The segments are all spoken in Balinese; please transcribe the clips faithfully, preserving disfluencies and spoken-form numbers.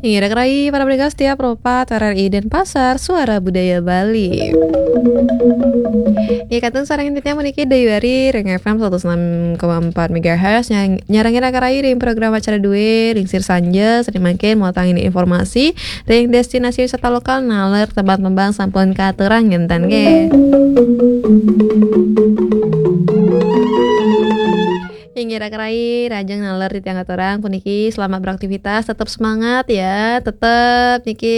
Inggih, rakan rayi para pendengar setia Pro empat R R I Denpasar, Suara Budaya Bali. Ya, kantun sareng titiang puniki Dayu Ari ring F M seratus enam koma empat megahertz, nyarengin rakan rayi ring program acara dué, ring sir sanja, sané mangkin mautang indik informasi ring destinasi wisata lokal, naler tempat tembang sampun katurang, ngenten nggih. Inggih, rakan rayi, rahajeng naler titiang aturang puniki, selamat beraktivitas, tetap semangat ya, tetap niki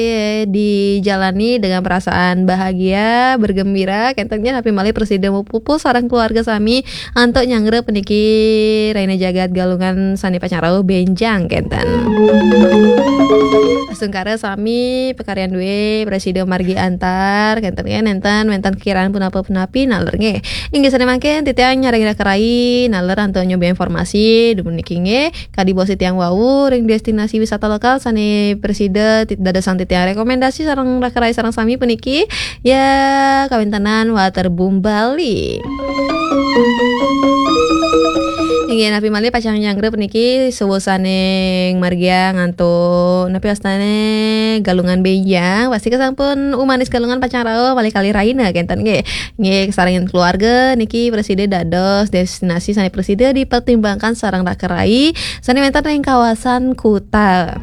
dijalani dengan perasaan bahagia, bergembira, kenten nggih, napi malih prasida mapupuh sareng keluarga sami antuk nyanggra puniki rahina jagat Galungan sané pacang rauh bénjang, kenten. Astungkara sami pakaryan dué prasida margi antar, kenten nggih, nénten wénten kekiraan punapa-punapi naler nggih. Inggih sané mangkin titiang nyarengin rakan rayi naler antuk nyoba informasi dumun niki nggih. Kadi baos titiang wau ring destinasi wisata lokal sané prasida ti-, dadosang titiang rekomendasi sareng rakan rayi sareng sami puniki ya kawéntenan Waterboom Bali. Inggih napi malih pacang nyanggra puniki suwusaning margiang antuk napi wastané Galungan bénjang, pasti kasampun umanis Galungan pacang rauh malih kalih rahina kenten nggih. Nggih, kasarengin keluarga niki prasida dados destinasi sané prasida dipertimbangkan sareng rakan rayi sané wénten ring kawasan Kuta.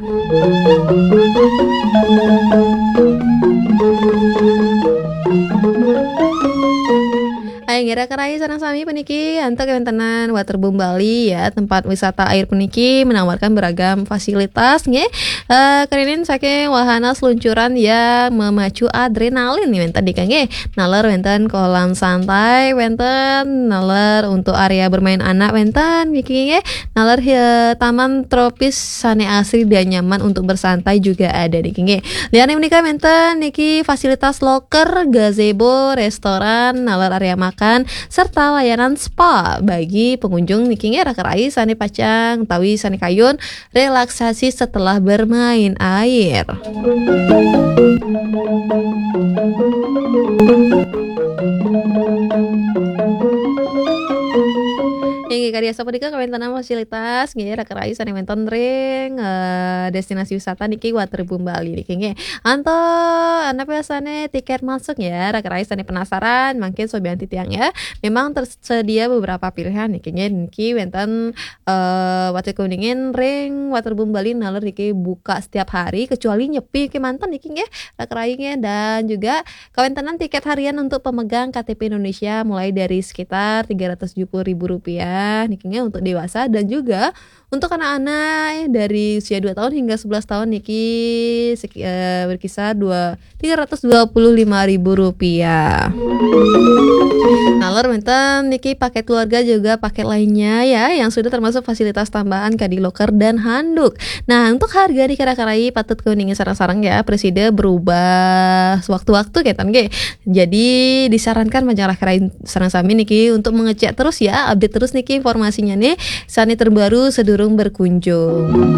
Inggih rakan rayi sareng sami puniki antuk kawéntenan Waterboom Bali ya, tempat wisata air puniki menawarkan beragam fasilitas nggih. Eh, kerining saking wahana seluncuran yang memacu adrenalin nih wénten niki nggih. Naler wénten kolam santai, wénten naler untuk area bermain anak wénten niki nggih. Naler, eh, taman tropis sané asri dan nyaman untuk bersantai juga ada niki nggih. Liyané menika wénten niki fasilitas loker, gazebo, restoran, naler area makan, serta layanan spa bagi pengunjung niki nggih rakan rayi sané pacang utawi sané kayun relaksasi setelah bermain air. Inggih, kadi asapunika kawéntenan fasilitas nggih rakan rayi sané wénten ring, eh, destinasi wisata niki Waterboom Bali niki nggih. Antuk napi wastané tiket masuk ya, rakan rayi sané penasaran mangkin sobian titiang ya. Memang tersedia beberapa pilihan niki nggih, niki wénten eh, Water Kebeningan ring Waterboom Bali naler niki buka setiap hari kecuali Nyepi kémanten niki nggih, rakan rayi nggih. Dan juga kawéntenan tiket harian untuk pemegang K T P Indonesia mulai dari sekitar tiga ratus tujuh puluh ribu rupiah niki nggih untuk dewasa dan juga untuk anak-anak dari usia dua tahun hingga sebelas tahun niki seki-, eh, berkisar dua, tiga ratus dua puluh lima ribu rupiah. Naler wénten niki paket keluarga juga paket lainnya ya, yang sudah termasuk fasilitas tambahan kadi loker dan handuk. Nah, untuk harga niki rakan rayi patut keuningin sareng-sareng ya, prasida berubah sewaktu-waktu kenten nggih. Jadi disarankan majeng rakan rayi sareng sami niki untuk mengecek terus ya, update terus niki informasinya nih, sané terbaru sedurung berkunjung.